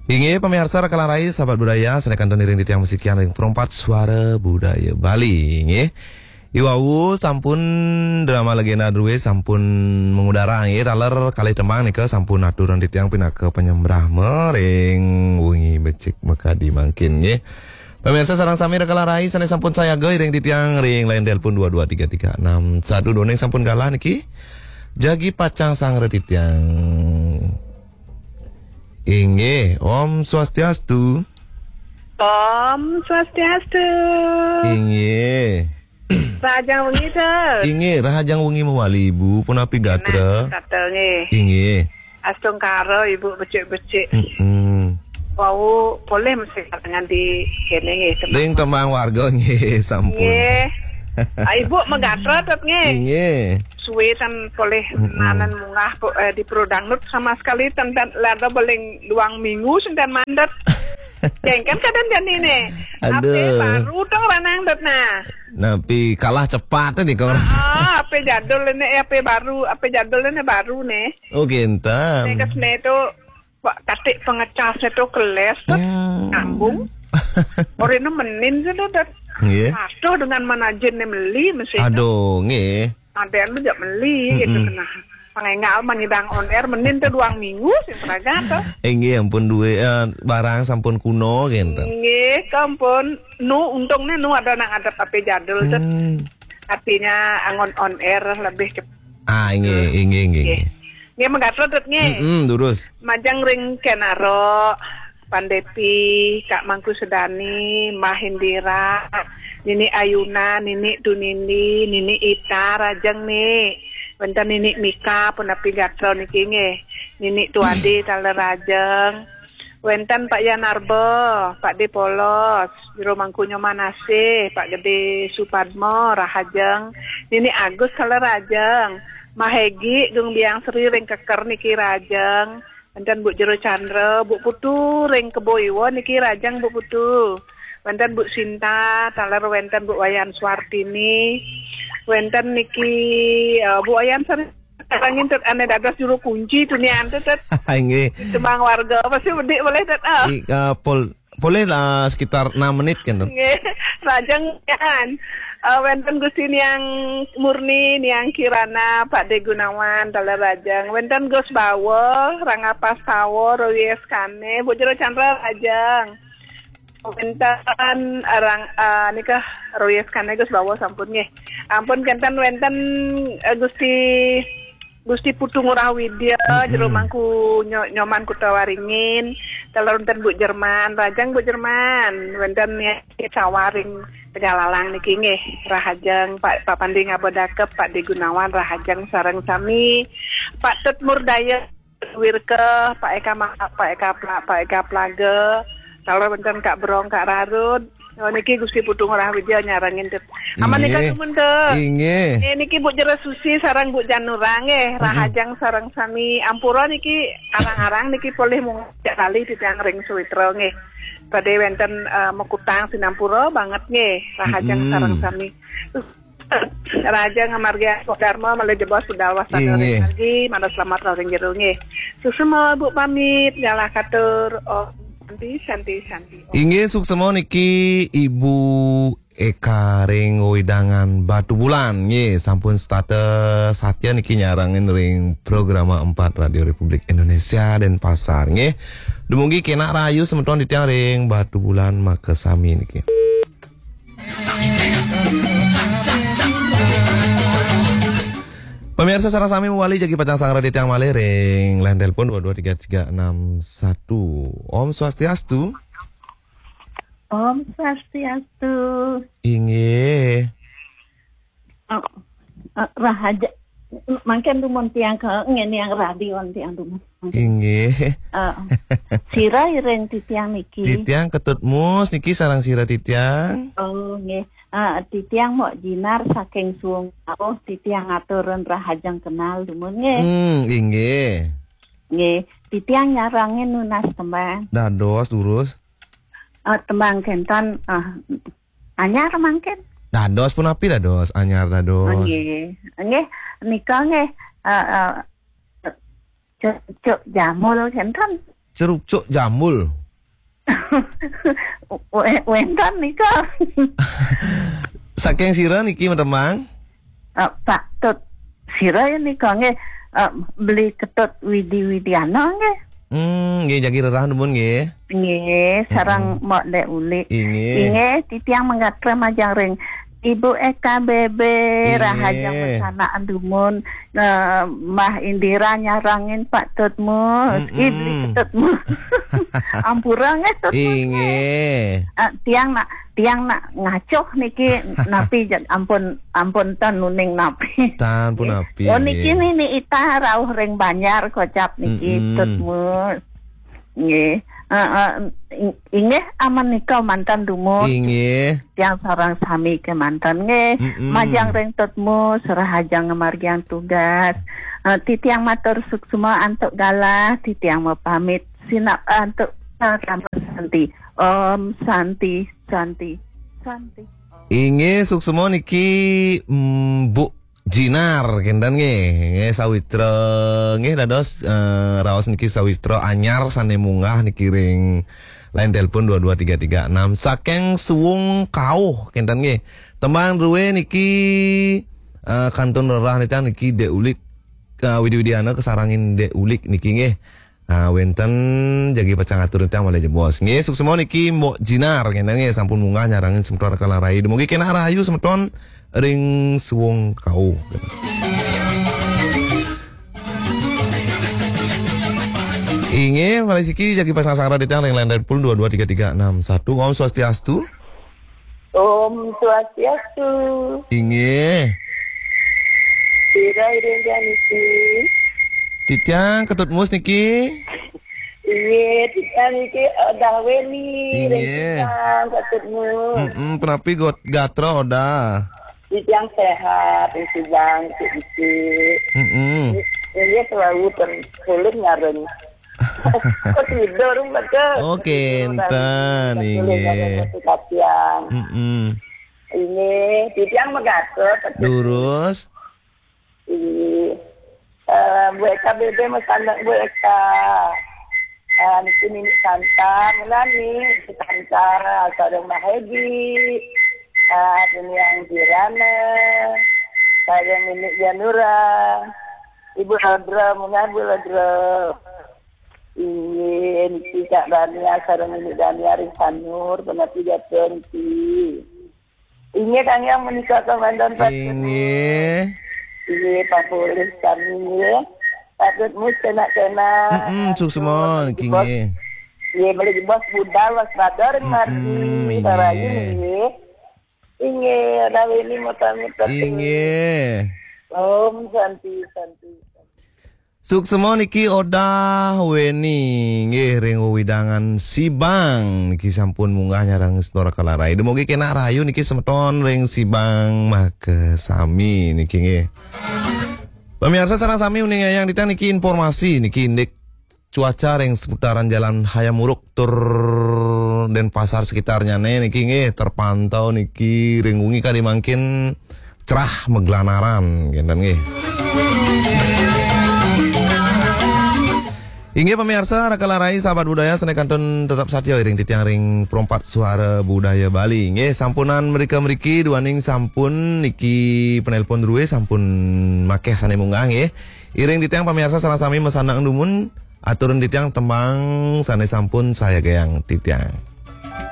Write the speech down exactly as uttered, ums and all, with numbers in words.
Inggih, pamirsa Rekalan Rai, sahabat budaya, sané kantun iring titiang masikian ring Perempat Suara Budaya Bali, inggih. Iwau sampun drama legenda drué sampun mengudara, inggih, taler kalih tembang nika sampun aturan titiang pinaka panyembrama ring wengi becik makadi mangkin, inggih. Pamirsa sareng sami Rekalan Rai sané sampun sayaga iring titiang ring line telepon dua dua tiga tiga enam satu, duaning sampun galah niki. Jagi pacang sanggra titiang. Inggih, Om Swastiastu. Om Swastiastu. Inggih. Rahajeng wengi, Sir. Inggih, rahajeng wengi mawali, Ibu. Punapi gatra? Tata nggih. Inggih. Astungkara Ibu becik-becik. Mm-mm. Wau polih mesti katangan di kéné nggih, tembang. Ring tembang warga nggih, sampun. Nggih. Ah, Ibu magatra tet nggih. Inggih. Suwé tan polih Mm-mm. nanan munggah po-, eh, di Pro Dangdut sama sekali tan, tan lada beling duang minggu sinten mandet. Jengken kadén jani né. Aduh. Apa baru tong ranang dot nah. Napi kalah cepat tadi kong. Ah, apa jadul ini, apa baru, apa jadul ini baru né. Oh, kénten. Né kesné tu, Pak, katik pengecasnya tu keles tu Hmm. nyambung. Orina menin tu tu. Nggih. Patuh dengan manajin né meli mesti. Aduh, nggih. Adén mah jak meli gitu Mm-mm. Nah. Pangénggal mah nyidang on air menin tu duang minggu sing pragat tu. Inggih ampun dué, eh, barang sampun kuno kénten. Nggih, kampun. Nu untungnya nu ada nang ada apa jadul tu. Hmm. Artinya angon on air lebih cepat. Ah, inggih, inggih, inggih, Nggih. Inggih. Nggih, magatra dot nggih. Mm-mm, durus. Majeng ring Kenaro, Pandepi, Kak Mangku Sedani, Mbah Indira, Nini Ayuna, Nini Tunindi, Nini Ita, rahajeng né. Wénten Nini Mika, punapi gatra niki nggih. Nini Tuadi, taler rahajeng. Wénten Pak Yanarba, Pak Dé Polos, Jero Mangku Nyoman Asih, Pak Gedé Supadma, rahajeng. Nini Agus, taler rahajeng. Mahegi, Gung Biang Sri ring Keker niki rahajeng. Wénten Bu Jero Chandra, Bu Putu ring Kebo Iwa niki rahajeng Bu Putu. Wénten Bu Sinta, taler wénten Bu Wayan Swartini. Wénten niki, eh, Bu Wayan Sari-, sareng niki ané dados juru kunci tunian tu, Tet. Inggih. Tembang warga, pasti bedik boleh, Tet, ah. I-, eh, pol-, boleh lah sekitar enam menit kan, Tet. Nggih, rahajeng kan. Eh, wénten Gusti Niang Murni, Niang Kirana, Pak Dé Gunawan, taler rahajeng. Wénten Gus Bawa, Rangga Pastawa, Roy Eskane, Bu Jero Chandra rahajeng. Wénten arang, eh, nika Roy Eskane Gus Bawa sampun nggih. Ampun kénten wénten, eh, Gusti, Gusti Putu Ngurah Widya, Mm-mm. Jero Mangku Nyo-, Nyoman Kuta Waringin, taler wénten Bu Jerman, rahajeng Bu Jerman, wénten niki Sawaring Tegalalang niki nggih, rahajeng Pak, Pak Pandi Ngabodakep, Pak Dé Gunawan, rahajeng sareng sami, Pak Tut Murdaya, Wirke, Pak Eka Ma-, Pak Eka Pla-, Pak Eka Plaga, taler wénten Kak Brong, Kak Rarud. Oh, niki Gusti Putu Ngurah Widya nyarengin, Tet. Aman nika Inggih. Dumun, Tet. Inggih. Eh, niki Bu Jero Susi sareng Bu Janura nggih, Mm-mm. rahajeng sareng sami. Ampura niki arang-arang niki polih mung jak kali titiang ring Suwitra nggih. Badé wénten, eh, makutang sinampura banget nggih, rahajeng Mm-mm. sareng sami. Rahajeng ngamargiang Dharma malih jebos budal wasana Inggih. Ring margi, manah selamat ring jero nggih. Suksma Bu pamit, galah katur. Om Santi, Santi, Santi. Om. Inggih, suksma niki Ibu Eka ring wewidangan Batubulan nggih, sampun setata satia niki nyarengin ring Programa empat Radio Republik Indonesia Denpasar nggih. Dumugi kenak rahayu semeton titiang ring Batubulan makasami niki. Pamirsa sareng sami mawali jagi pacang sanggra titiang malih ring line telepon dua dua tiga tiga enam satu. Om Swastiastu. Om Swastiastu. Inggih. Oh, eh, rahaja. Mangkin dumun tiang ke ngeniang radio tiang dumun. Inggih. Eh, sira iring titiang niki. Titiang Ketut Mus niki sareng sira titiang. Oh, nggih. Eh, titiang Mok Jinar saking Suwung Tauh, titiang aturun rahajeng kenal dumun nggih. Hmm, inggih. Nggih, titiang nyarengin nunas tembang. Dados, durus. Eh, tembang kénten, eh, anyar mangkin. Dados punapi dados, anyar dados. Oh, nggih. Nggih, nika nggih, eh, eh, Cuk, Cuk Jamul kénten. Cerucuk Jambul. Wénten nika. Saking sira niki, Mang? Eh, Pak Tut. Sira ya nika nggih, eh, Beli Ketut Widi Widiana nggih. Hmm, nggih, jagi rerah dumun nggih. Nggih, sareng Mbok Dek Ulik. Inggih. Inggih, titiang manggatrem majeng ring Ibu Eka Bebe, rahaja mesanak dumun, eh, Mbah Indira nyarengin Pak Tutmus, Ibli Ketutmus. Ampura nggih Tutmus. Inggih. Eh, tiang nak, tiang nak ngacoh niki napi, ampun, ampun ten uning napi. Tan punapi. Oh, niki nggih. Nini Ita rauh ring Banjar kocap niki Tutmus. Nggih. Eh, eh, ing-, inggih aman nika manten dumun. Inggih. Tiang sareng sami kemanten nggih. Majeng ring Tutmus, rahaja ngamargiang tugas. Eh, titiang matur suksma antuk galah, titiang mapamit sinep antuk Parama Santi. Om Santi, Santi, Santi. Inggih, suksma niki, mm, Bu Jinar, kinten nggih. Nggih, sawitra, nggih, dados, eh, raos niki sawitra anyar sane munggah niki ring line telepon dua dua tiga tiga enam saking Suwung Kauh, kinten nggih. Tembang druwe niki, eh, kantun rerah nita niki Dek Ulik, eh, Widi Widiana kasarengin Dek Ulik niki nggih. Ah, wenten jagi pacang atur titiang malih jebos. Nggih, suksma niki Mbok Jinar, kinten nggih, sampun munggah nyarengin semeton Kala Rai. Dumugi kenak rahayu semeton ring Suwung Kauh. Inggih, malih siki jagi pasang sanggra titiang ring line telepon dua dua tiga tiga enam satu. Om Swastiastu. Om Swastiastu. Inggih. Sira iring niki. Titiang Ketut Mus niki. Inggih, titiang niki Odah Weni. Inggih. Ring Sibang, Ketut Mus. Mm-mm, punapi got-, gatra Odah? Titiang sehat, ring Sibang, iki-iki. Mm-mm. Inggih, selalu ten-, sulit ngareng. Kok tidur, Mbak? Oh, kenten, inggih. Mm-mm. Inggih, titiang megatot. Durus. Inggih. Eh, Bu Eka Bebe masandak Bu Eka. Eh, niki Nini Santa, mula ni, Nini Santa, sareng Mbak Hedi. Eh, Nini Anggirana, sareng Nini Janura. Ibu Rodra, mula Bu Rodra. Inggih, niki Kak Dania, sareng Nini Dania ring Sanur, punapi gatra niki. Inggih, Kang Yang menika komandan Pak. Inggih. Inggih, Pak Polih kami nggih. Pak Tutmus kenak-kenak. Mm-mm, suksma niki nggih. Nggih, malih jebos budal waspada ring margi. Mm-mm, inggih. Sarayu nggih. Inggih, Odah Weni muter-muter. Inggih. Om Santi, Santi, Santi. Suksma niki Odah Weni, nggih, ring wewidangan Sibang niki sampun munggah nyarengin semeton Kala Rai. Dumugi kenak rahayu niki semeton ring Sibang makasami niki nggih. Pamiarsa sareng sami uning ayang titiang niki informasi niki indik cuaca ring seputaran Jalan Hayam Wuruk tur Denpasar sekitarnyane niki nggih terpantau niki ring wengi kadi mangkin cerah maglanaran, kinten nggih. Inggih pamiarsa, Rakala Rai, sahabat budaya, sane kantun tetep satia iring titiang ring Perempat Suara Budaya Bali. Nggih, sampunang mrika-mriki duaning sampun niki penelpon druwe sampun makeh sane munggah nggih. Iring titiang pamiarsa sareng sami masandak dumun, aturang titiang tembang sane sampun sayagayang titiang.